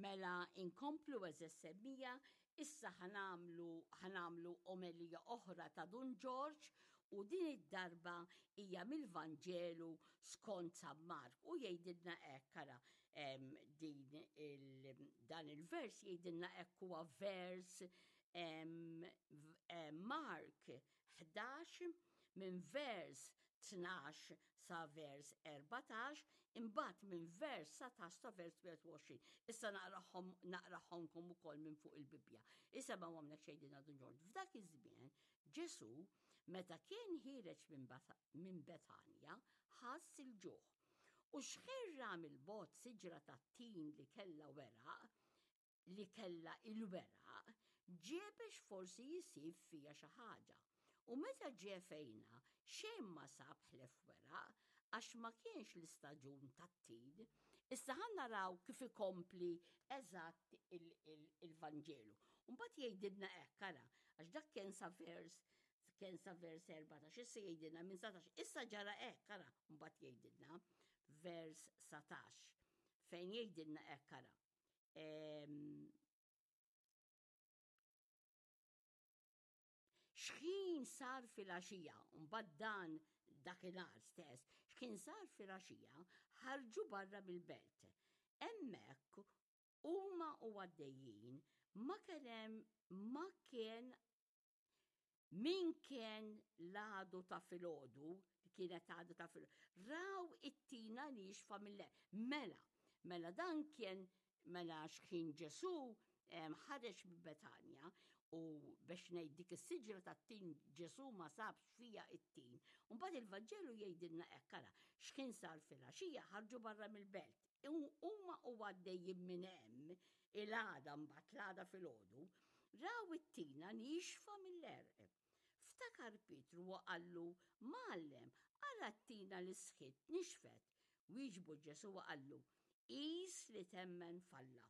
Mela inkomplu għeżież semmija, issa ħa nagħmlu ħa nagħmlu omelija oħra ta' Dun Ġorġ u din id-darba hija mill-Vanġelu skont San Mark u jgħidilna hekk ara din il, dan il-vers jgħidilna hekk huwa vers Mark 11 minn vers 12 sa vers 14, imbagħad minn vers 19 sa vers 21. Issa naqrahom naqrahomkom ukoll minn fuq il-Bibbja. Issa ma għamlek xejn din għadu ġord. F'dak iż-żmien Ġesu meta kien ħiereġ minn Betanja ħass il-ġuħ. U xħirra mill-bot siġra tat-tin li kellha weraq, li kellha il-weraq, ġie biex forsi jsib fiha xi ħaġa. U meta ġie fejnha, xejn ma sab ħlief weraq, għax ma kienx l-istaġun tat-tin. Issa ħa naraw kif ikompli eżatt il-Vanġelu. Mbagħad jgħidilna hekk, ara, għax dak kien sa vers kien sa vers 14, issa jgħidilna minn 19, issa ġara hekk, ara, mbagħad jgħidilna vers 19, fejn jgħidilna hekk, ara. Xħin sar fil-għaxija, mbagħad dan dakinhar stess, xħin sar fil-għaxija, ħarġu barra mill-belt. Hemmhekk huma u għaddejjin ma kien hemm ma kien Min kien l-għadu ta' filgħodu, li kienet għadu ta' filgħodu, raw it-tina niexfa mill Mela, mela dan kien mela xħin Ġesu ħareġ minn Betanja u biex ngħid dik is-siġra tat-tin Ġesu ma sabx fija it-tin. Mbagħad il-Vanġelu jgħidilna hekk ara, x'kien sar filgħaxija ħarġu barra mill-belt. Huma u għaddejjin minn hemm il-għada mbagħad l-għada filgħodu, raw it-tina niexfa mill-għerq. Ftakar Pietru u qallu, Mgħallem, ara t-tina li sħitt nixfet. Wieġbu Ġesù u qallu, Qis li temmen f'Alla.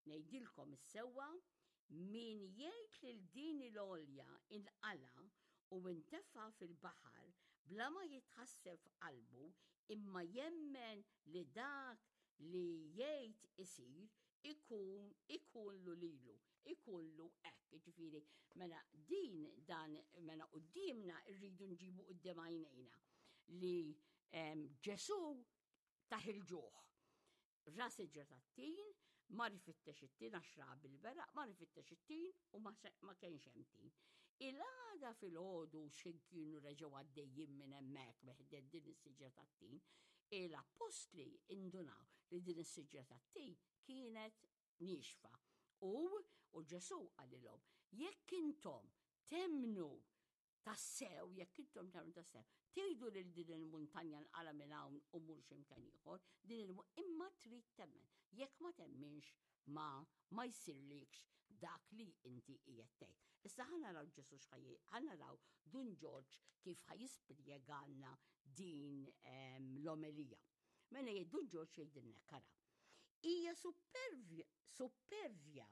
Ngħidilkom is-sewwa, min jgħid lil din il-għolja inqala' u intefa' fil-baħar bla ma jitħasseb f'qalbu imma jemmen li dak li jgħid isir ikun ikunlu lilu, ikunlu hekk. Ġifieri, mela din dan mela quddiemna rridu nġibu quddiem għajnejna li Ġesù taħ il-ġuħ. Ra siġra tat-tin, mar ifittex it-tin għax ra bil-beraq, mar ifittex it-tin u ma kienx hemm tin. Il-għada filgħodu x'ħin kienu reġgħu għaddejjin minn hemmhekk meħded din is-siġra tat-tin, il-appostli indunaw li din is-siġra tat-tin kienet niexfa. U, u Ġesù qalilhom, jekk intom temmnu tassew, jekk intom tagħmlu tassew, tgħidu lil din il-muntanja nqala minn hawn u mur x'imkien ieħor, din il imma trid temmen. Jekk ma temminx ma ma jsirlikx dak li inti qiegħed tgħid. Issa ħa naraw Ġesù x'ħaj ħa naraw Dun Ġorġ kif ħa jispjegalna din ehm, l-omelija. Mela jgħid Dun Ġorġ jgħidilna kara. Hija suppervja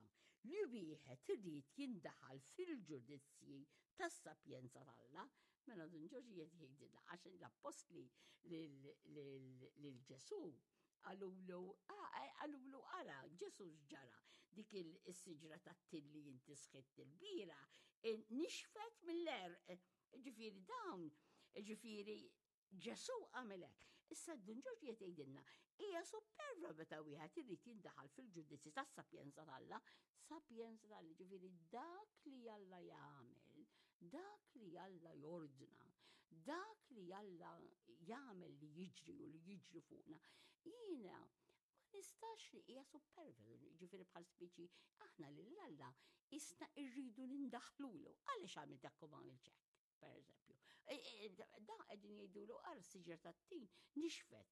li wieħed irid jindaħal fil-ġudizzji tas-sapjenza t'Alla. Mela Dun Ġorġ qiegħed jgħidilna għax l-appostli lil Ġesù qalulu qalulu ara Ġesù x'ġara dik is-siġra tat-tin li inti sħitt il-bira nixfet mill-għerq. Ġifieri dawn, ġifieri Ġesù għamel hekk. Issa Dun Ġorġ qed jgħidilna, hija superva meta wieħed irid jindaħal fil-ġudizzji tas-sapjenza t'Alla, sapjenza t'Alla, ġifieri dak li Alla jagħmel, dak li Alla jordna, dak li Alla jagħmel li jiġri u li jiġri fuqna. Jiena ma nistax li hija superva, ġifieri bħal speċi aħna lil Alla isna rridu nindaħlulu. Għaliex għamilt hekk u ma għamilx hekk? per eżempju. E, e, da qegħdin jgħidulu għar siġra tat-tin nixfet.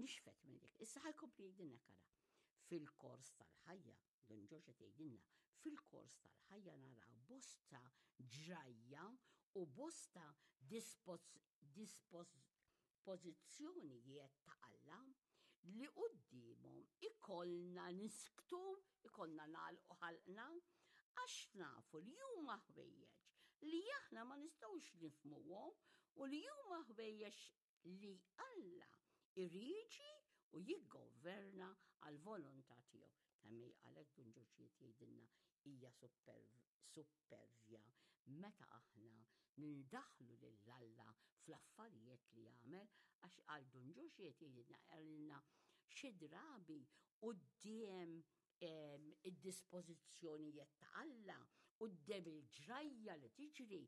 Nixfet minn dik. Issa ħajkompli jgħidilna kara. Fil-kors tal-ħajja, Don Ġorġ qed jgħidilna, fil-kors tal-ħajja naraw bosta ġrajja u bosta dispożizzjonijiet ta' Alla li quddiemhom ikollna nisktu, ikollna nagħlqu ħalqna, għax nafu li huma ħwejjeġ li aħna ma nistgħux nifhmuhom u li huma ħwejjeġ li Alla iriġi u jiggoverna għall-volontà tiegħu. Kemm hi għalhekk Dun Ġorġ qiegħed jgħidilna hija suppervja meta aħna nindaħlu lil Alla fl-affarijiet li jagħmel għax għal Dun Ġorġ qiegħed jgħidilna qalilna xi drabi quddiem id-dispożizzjonijiet ta' Alla quddiem il-ġrajja li tiġri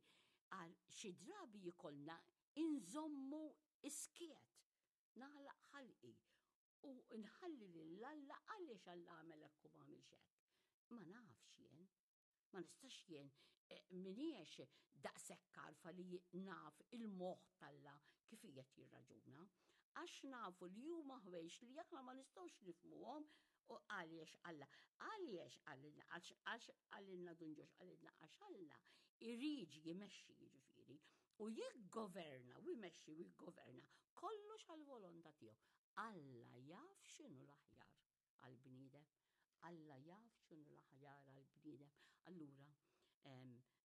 għal xi drabi jkollna inżommu iskiet nagħlaq ħalqi u nħalli lil Alla għaliex Alla għamel hekk u ma għamilx hekk. Ma nafx jien. Ma nistax jien eh, miniex daqshekk għarfa li naf il-moħħ t'Alla kif qiegħed jirraġuna. Għax nafu li huma ħwejx li aħna ma nistgħux nifhmuhom u għaliex Alla. Għaliex għalilna, għax għalilna Dun Ġorġ, għalilna għax Alla irid jimexxi jiġifieri u jiggoverna u jmexxi u jiggoverna kollox għall-volontà tiegħu. Alla jaf x'inhu l-aħjar għall-bniedem. Alla jaf x'inhu l-aħjar għall-bniedem. Allura,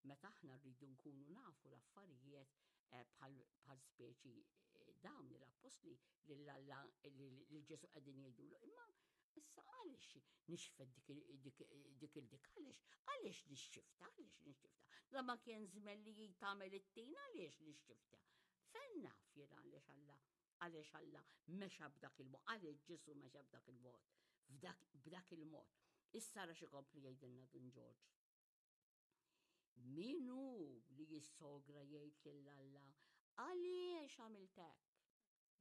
meta aħna rridu nkunu nafu l-affarijiet eh, bħal speċi eh, dawn l-appostli lil Alla lil Ġesu qegħdin jgħidulu, imma issa għaliex nixfet dik il-dik għaliex għaliex nixxifta għaliex nixxifta. La ma kien żmien li tagħmel it-tin għaliex nixxifta. Fejn naf jien għaliex Alla Għaliex Alla mexa b'dak il-mod, għaliex Ġesù mexa b'dak il-mod, b'dak il-mod. Issa ra x'ikompli jgħidilna Dun Ġorġ. Min hu li jissogra jgħid lil Alla għaliex għamilt hekk?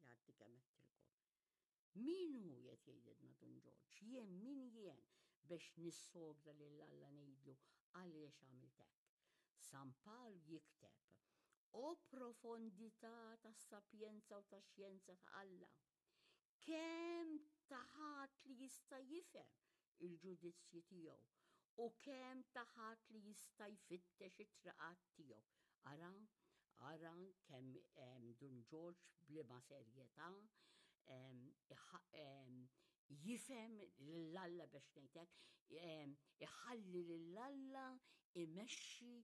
Jgħaddi kemm għedtilkom. Min hu qed jgħidilna Dun Ġorġ? Jien min jien biex nissogra lil Alla ngħidlu għaliex għamilt hekk? San Pawl jikteb, O profondità tas-sapjenza u tax-xjenza ta' Alla! Kemm ta' ħadd li jista' jifhem il-ġudizzji tiegħu u kemm ta' ħadd li jista' jfittex it-triqat tiegħu. Ara, ara kemm Dun Ġorġ b'liema serjetà jifhem lil Alla biex ngħid hekk, iħalli lil Alla imexxi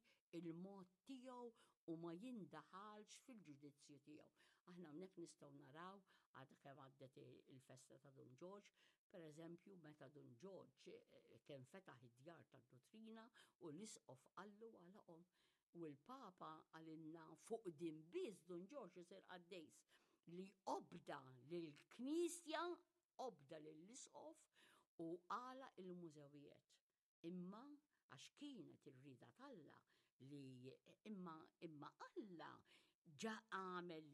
il-mod tiegħu u ma jindaħalx fil-ġudizzju tiegħu. Aħna hawnhekk nistgħu naraw għadha kemm għaddet il-festa ta' Dun Ġorġ, per eżempju meta Dun Ġorġ eh, kien fetaħ id-djar tad-dottrina u l-isqof qallu għalaqhom. U l-Papa qalilna fuq din biss Dun Ġorġ isir qaddejs li obda lill-Knisja, obda lill-Isqof u għalaq il-mużewijiet. Imma għax kienet ir-rieda t'Alla li imma imma Alla ġa għamel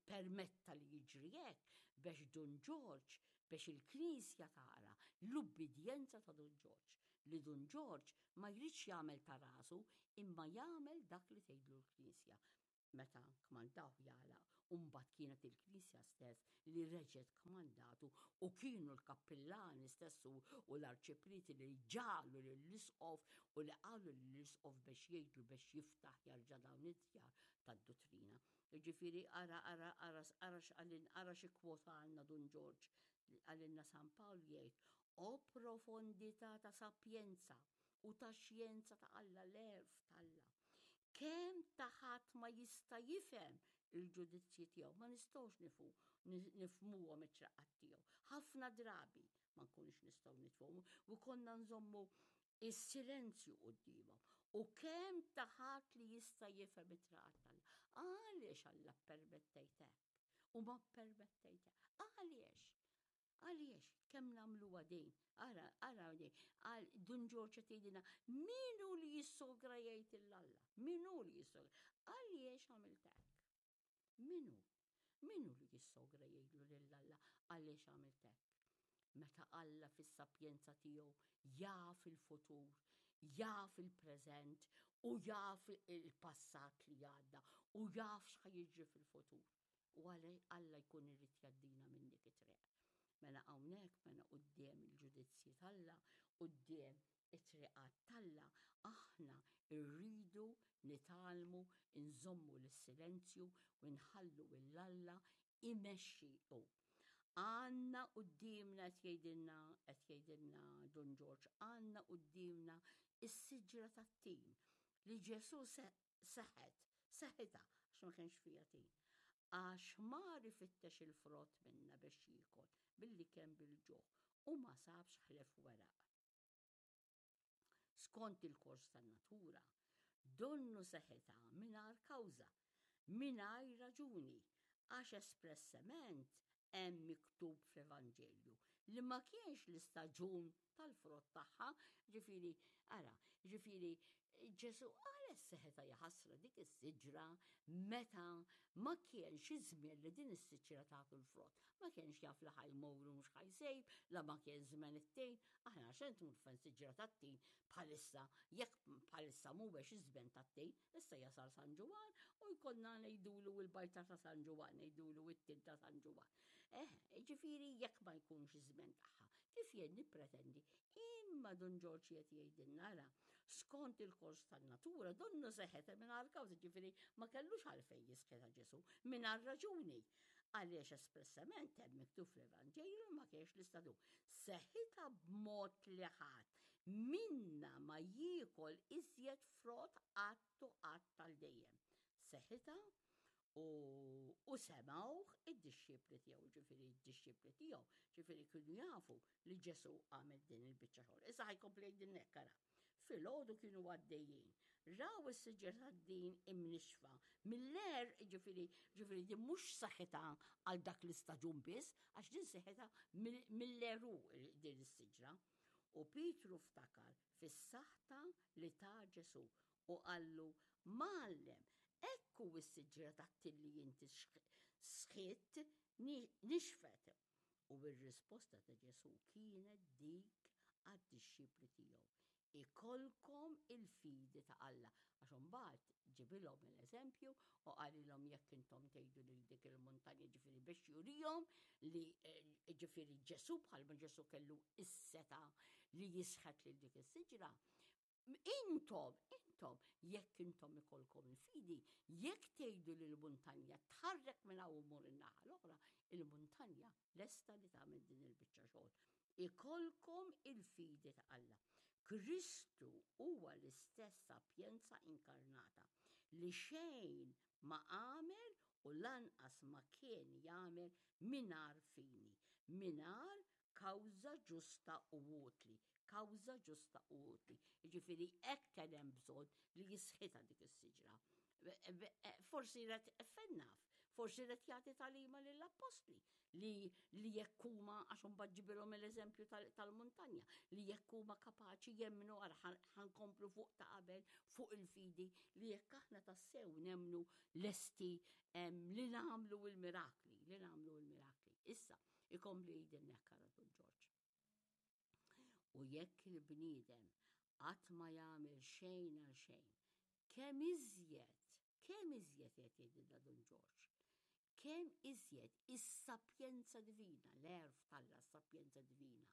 permetta li jiġri hekk biex Dun Ġorġ biex il-Knisja tara l-ubbidjenza ta' Dun Ġorġ li Dun Ġorġ ma jridx jagħmel ta' rasu imma jagħmel dak li tgħidlu l-Knisja. Meta kmandawh jagħlaq u mbagħad kienet il-Knisja stess li reġgħet kmandatu u kienu l-kappillani stess u l-arċiprieti li ġagħlu lill-isqof u li qalu lill-isqof biex jgħidlu biex jiftaħ jarġa' dawn id-djar tad-duttrina. Jiġifieri ara ara ara ara x'qalilna ara xi kwota għandna Dun Ġorġ qalilna San Pawl jgħid O profondità ta' sapjenza u ta' xjenza ta' Alla, l-għerf t'Alla! Kemm ta' ħadd ma jista' jifhem il-ġudizzji tiegħu, ma nistgħux nifhu, nifhmuhom it-traqqat tiegħu. Ħafna drabi ma nkunux nistgħu nifhmuhom u konna nżommu is-silenzju quddiemhom. U kemm ta' ħadd li jista' jifhem it-traqqat t'Alla. Għaliex Alla ppermettejt hekk u ma ppermettejt hekk? Għaliex? Għaliex, kemm nagħmluha din? Ara, ara din, għal Dun Ġorġ qed jgħidilna, min hu li jissogra jgħid 'il Alla? Min hu li jissogra? Għaliex għamilt hekk? Min hu? Min hu li jissogra jgħidlu lil Alla għaliex għamilt hekk? Meta Alla fis-sapjenza tiegħu jaf il-futur, jaf il-preżent u jaf il-passat li għadda u jaf x'ħa jiġri fil-futur. U għalhekk Alla jkun irid jgħaddina minn dik it-triq. Mela hawnhekk, mela quddiem il-ġudizzji t'Alla, quddiem it-triqat t'Alla, aħna rridu nitgħallmu nżommu l-silenzju u nħallu 'l Alla imexxi hu. Għandna quddiemna qed jgħidilna qed jgħidilna Dun Ġorġ, għandna quddiemna s-siġra tat-tin li Ġesù seħet, seħitha għax ma kienx fiha tin. Għax mar ifittex il-frott minnha biex jiekol, billi kien bil-ġuħ. U ma sabx ħlief weraq. Skont il-kors tan-natura, donnu seħitha mingħajr kawża, mingħajr raġuni, għax espressement hemm miktub fl-Evanġelju li ma kienx l-istaġun tal-frott tagħha, ġifieri, ara, ġifieri Ġesu għala seħetha jaħasra dik is-siġra meta ma kienx iż-żmien li din is-siġra tagħtu l-frott. Ma kienx jaf li ħa jmur u mhux ħa jsejb, la ma kien żmien it-tin. Aħna għax tmur fejn siġra tat-tin bħalissa, jekk bħalissa mhuwiex iż-żmien tat-tin, issa jasal San Ġwann u jkollna ngħidulu l-bajta ta' San Ġwann, ngħidulu it-tin ta' San Ġwann. Eh, ġifieri jekk ma jkunx iż-żmien tagħha, kif jien nippretendi Imma Dun Ġorġ qed jgħidilna ara, skont il-kors tan-natura, donnu seħet mingħajr kawża, ġifieri ma kellux għalfejn jisħetha Ġesù, mingħajr raġuni. Għaliex espressament hemm miktub fl-Evanġelju li ma kienx l-istadu. Seħitha b'mod li ħadd minna ma jiekol iżjed frott qatt u qatt għal dejjem. Seħitha U, u semgħuh id-dixxipli tiegħu, ġifieri d-dixxipli tiegħu, ġifieri kienu jafu li Ġesù għamel din il-biċċa xogħol. Issa ħa jkompli jgħidilna hekk ara. Filgħodu kienu għaddejjin, raw is-siġra tad-din imnixxfa mill-għerq, ġifieri, ġifieri din mhux saħħitha għal dak l-istaġun biss, għax din saħħitha mill-għeruq din is-siġra. U Pietru ftakar fis-saħta li ta Ġesù u qallu, Mgħallem, hekk hu s-siġra tat-tin li inti sħitt nixfet. U r-risposta ta' Ġesù kienet dik għad-dixxipli tiegħu, Ikollkom il-fidi ta' Alla. Għax imbagħad ġibilhom l-eżempju u qalilhom jekk intom tgħidu lil dik il-muntanja ġifieri biex jurihom li ġifieri Ġesù bħalma Ġesù kellu s-setgħa li jisħet lil dik is-siġra, Intom, intom, jekk intom ikollkom il-fidi, jekk tgħidu li l-muntanja tħarrek minn hawn u mur in-naħa l-oħra, il-muntanja lesta li tagħmel din il-biċċa xogħol. Ikollkom il-fidi ta' Alla. Kristu huwa l-istess sapjenza inkarnata li xejn ma għamel u lanqas ma kien jagħmel mingħajr fini, mingħajr kawża ġusta u utli, kawża ġusta u utli. Jiġifieri hekk kien hemm bżonn li jisħitha dik is-siġra. Forsi ret fejn naf, forsi ret jagħti tagħlima lill-appostli li li jekk huma għax imbagħad ġibilhom l-eżempju tal-muntanja, li jekk huma kapaċi jemmnu għal ħankomplu fuq ta' qabel fuq il-fidi li jekk aħna tassew nemmnu lesti li nagħmlu l-mirakli, li nagħmlu l-mirakli. Issa, Ikompli jgħidilna hekk ara Dun Ġorġ. U jekk il-bniedem qatt ma jagħmel xejn għal xejn, kemm iżjed, kemm iżjed qed jgħidilna Dun Ġorġ, kemm iżjed is-sapjenza divina, l-għerf t'Alla, s-sapjenza divina,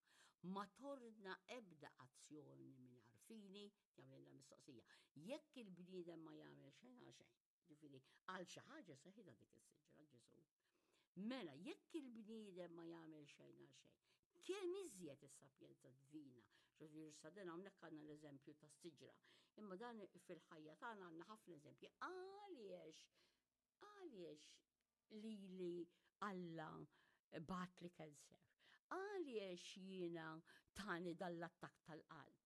ma tordna ebda azzjoni mingħajr fini, jagħmlilna mistoqsija. Jekk il-bniedem ma jagħmel xejn għal xejn, Ġifieri, għal xi ħaġa seħidha dik is-siġra Ġesù. Mela, jekk il-bniedem ma jagħmel xejn għal xejn, kemm iżjed is-sapjenza divina, ġifieri sa din hawnhekk għandna l-eżempju tas-siġra, imma dan fil-ħajja tagħna għandna ħafna eżempji. Għaliex għaliex lili Alla bagħatli cancer? Għaliex jiena tani dal-attakk tal-qalb?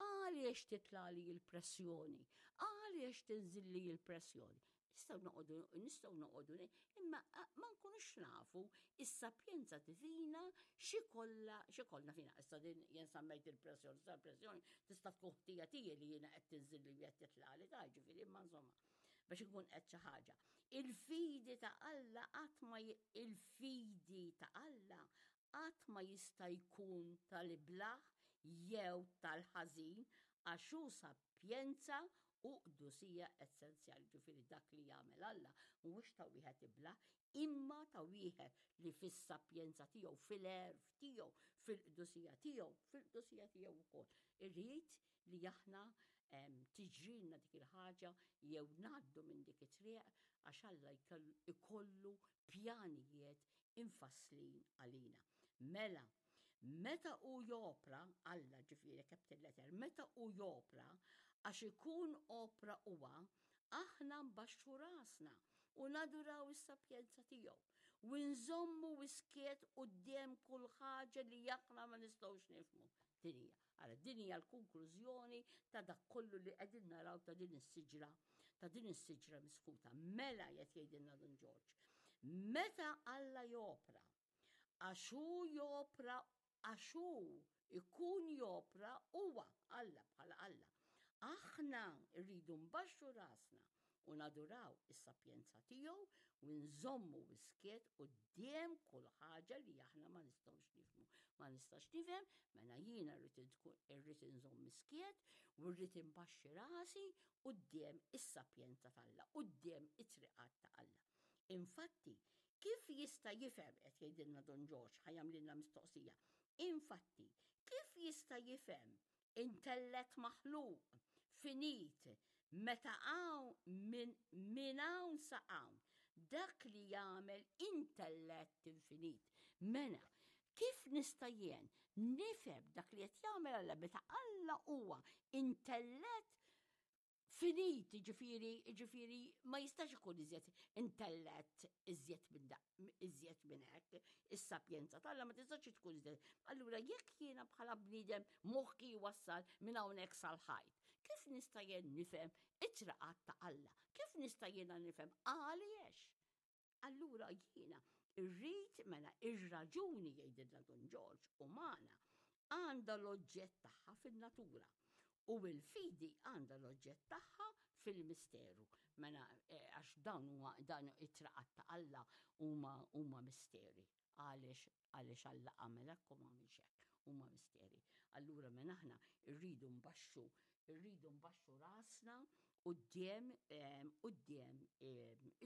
Għaliex titlali l-pressjoni? Għaliex tinżilli l-pressjoni? Nistgħu noqogħdu nistgħu noqogħdu imma ma nkunux nafu is-sapjenza divina xi kollha xi kollna fina. Issa din jien semmejt il-pressjoni, issa l-pressjoni tista' tkun ħtija tiegħi li jiena qed tinżilli u qed titlali ta' ġifieri imma insomma biex inkun qed xi ħaġa. Il-fidi ta' Alla qatt ma il-fidi ta' Alla qatt ma jista' jkun tal-iblah jew tal-ħażin għax hu sapjenza u qdusija essenzjali. Ġifieri dak li jagħmel Alla mhuwiex ta' wieħed iblah, imma ta' wieħed li fis-sapjenza tiegħu, fil-għerf tiegħu, fil-qdusija tiegħu, fil-qdusija tiegħu wkoll. Irid li aħna tiġrilna dik il-ħaġa jew ngħaddu minn dik it-triq għax Alla ikollu pjanijiet imfasslin għalina. Mela, meta hu jopra, Alla ġifieri capital letter, meta hu jopra, għax ikun opra huwa, aħna nbaxxu rasna u naduraw is-sapjenza tiegħu. u nżommu skiet quddiem kull ħaġa li aħna ma nistgħux nifhmu. Din hija. Ara din hija l-konklużjoni ta' dak kollu li qegħdin naraw ta' din is-siġra, ta' din is-siġra misħuta. Mela qed jgħidilna Dun Ġorġ. Meta Alla jopra, għax hu jopra għax hu jkun jopra huwa Alla bħala Alla. Aħna rridu nbaxxu rasna u naduraw is-sapjenza tiegħu u nżommu skiet quddiem kull ħaġa li aħna ma nistgħux nifhmu. Ma nistax nifhem, mela jiena rrid inżomm skiet u rrid inbaxxi rasi quddiem is-sapjenza t'Alla, quddiem it-triqat ta' Alla. Infatti, kif jista' jifhem, qed jgħidilna Dun Ġorġ, ħa jagħmlilna mistoqsija, infatti, kif jista' jifhem intellett maħluq, finit, meta hawn minn min hawn sa hawn, dak li jagħmel intellett infinit. Mela, kif nista' jien nifhem dak li qed jagħmel Alla meta Alla huwa intellett finit, ġifieri, ġifieri ma jistax ikun iżjed intellett iżjed minn iżjed minn hekk, is-sapjenza t'Alla ma tistax tkun iżjed. Allura jekk jiena bħala bniedem moħħi wassal minn hawnhekk sal-ħajt, kif nista' jien nifhem it-triqat ta' Alla? Kif nista' jiena nifhem għaliex? Allura jiena rrid mela ir-raġuni jgħidilna Dun Ġorġ umana għandha l-oġġett tagħha fin-natura u l-fidi għandha l-oġġett tagħha fil-misteru. Mela eh, għax dawn huma dan it-traqat ta' Alla huma huma misteri. Għaliex għaliex Alla għamel hekk u ma għamilx hekk. Huma misteri. Allura mela aħna rridu nbaxxu rridu nbaxxu rasna quddiem quddiem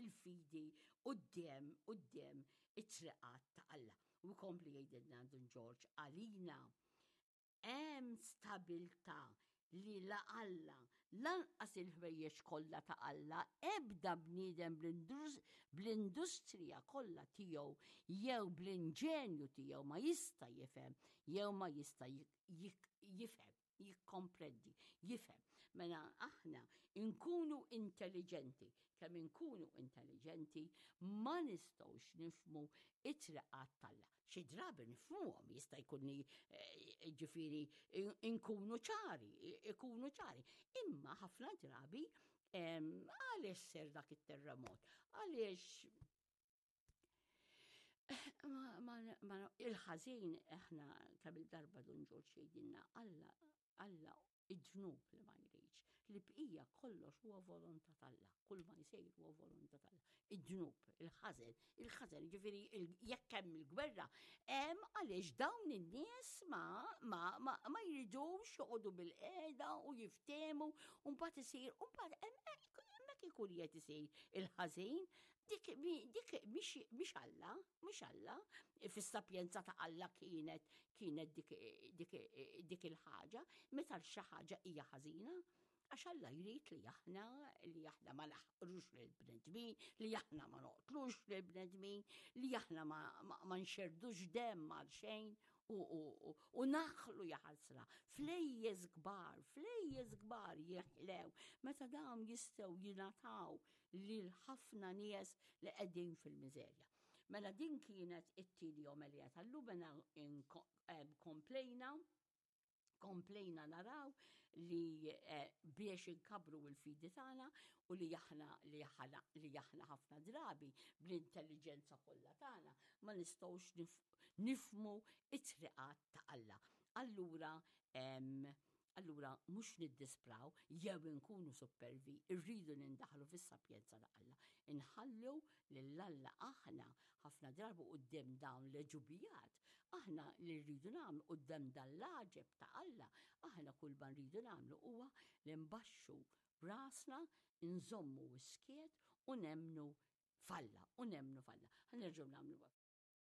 il-fidi quddiem quddiem it-triqat ta' Alla. U jkompli jgħidilna Dun Ġorġ għalina hemm stabilta li la Alla lanqas il-ħwejjeġ kollha ta' Alla ebda bniedem bl-industrija kollha tiegħu jew bl-inġenju tiegħu ma jista' jifhem jew ma jista' jifhem jikkomprendi, jifhem. Mela aħna nkunu intelligenti, kemm inkunu intelligenti ma nistgħux nifhmu it-triqat t'Alla. Xi drabi nifhmuhom jista' jkun li eh, ġifieri nkunu ċari, ikunu ċari. Imma ħafna drabi għaliex ser dak it-terremot? Għaliex il-ħażin aħna kemm il-darba Dun Ġorġ jgħidilna Alla Alla id-dnub li ma jridx. Li bqija kollox huwa volontà t'Alla, kull ma jsir huwa volontà t'Alla. Id-dnub, il-ħażen, il-ħażen, ġifieri jekk hemm il-gwerra, hemm għaliex dawn in-nies ma ma ma, ma jridux joqogħdu bil-qiegħda u jiftehmu u mbagħad isir u mbagħad hemmhekk ikun qed isir il-ħażin Dik, dik mhix Alla, mhix Alla, fis-sapjenza ta' Alla kienet kienet dik, dik, dik il-ħaġa, meta xi ħaġa hija ħażina, għax Alla jrid li aħna li aħna ma naħqrux lill-bnedmin, li aħna ma noqtlux lill-bnedmin, li aħna ma, ma, ma nxerdux demm għal xejn u, u, u, u naħlu jaħasra. Flejjes kbar, flejjes kbar jeħlew meta dawn jistgħu jingħataw lil ħafna nies li qegħdin fil-miżerja. Mela din kienet it-tieni omelija tal-lum mela komplejna komplejna naraw li eh, biex inkabru l-fidi tagħna u li aħna li aħna li aħna ħafna drabi bl-intelligenza kollha tagħna ma nistgħux nifmu it-triqat ta' Alla. Allura Allura mhux niddispraw jew inkunu suppervi, irridu nindaħlu fis-sapjenza ta' Alla. Inħallu lil Alla aħna ħafna drabi quddiem dawn l-għeġubijat, aħna li rridu nagħmlu quddiem dan l-għaġeb ta' Alla, aħna kull ma rridu nagħmlu huwa li nbaxxu rasna, nżommu s-skiet u nemmnu f'Alla, u nemmnu f'Alla. Ħa nerġgħu nagħmlu.